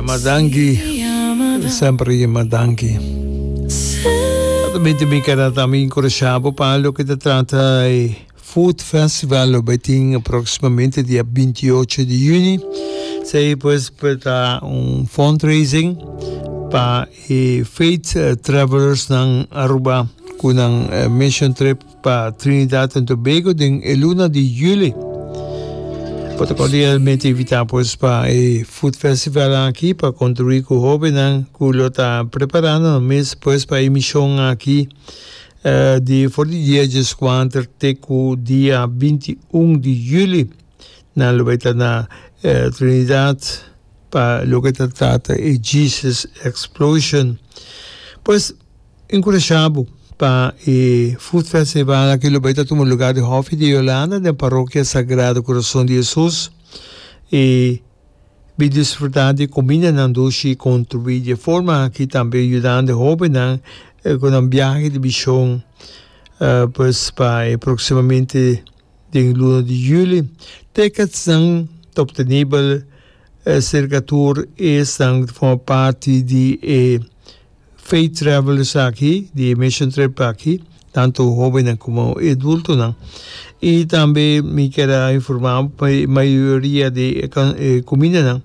Yama danki, semper yama danki. Altamente mi keda tambe enkurashá bo pa loke ta trata e Food Festival lo bai tin próksimamente dia 28 di yüni. Esei pues ta un fundraising pa e Faith Travelers nan Aruba ku nan mission trip. Pa Trinidad and Tobago den e luna di juli. Bo ta cordialmente invita pues pa e Food Festival aki pa contribui cu hobennan cu lo ta preparando nan mes pues pa e mision aki di for di dia dieskuater te cu dia 21 di juli. Nan lo bay ta na Trinidad pa loke ta trata e Jesus Explosion. Pues. Enkurashá bo pa e Food Festival aki lo bai ta tuma lugar di Hòfi di Yolanda den Parokia Sagrado Kurason di Hesus i bin disfrutá di kumindanan dushi i kontribuí di e forma aki tambe yudando e hóbennan ku nan biahe di mishon pues pa e próksimamente den luna di yüli. Ticketsnan ta optenibel serka tur esnan ku ta forma parti di e Faith Travelers aki, di e mission trip aki, tanto hobennan como e adultonan. Y tambe mi kier a informa bo pa e mayoria di e cumindanan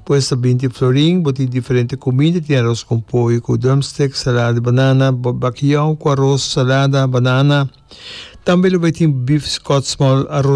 pues ta binti florin, bo tin diferente cuminda, tin aros con pollo cu drumstick, salada di banana, bakiyou cu aros, salada, banana. Tambe lo bay tin beef scotch small, aros.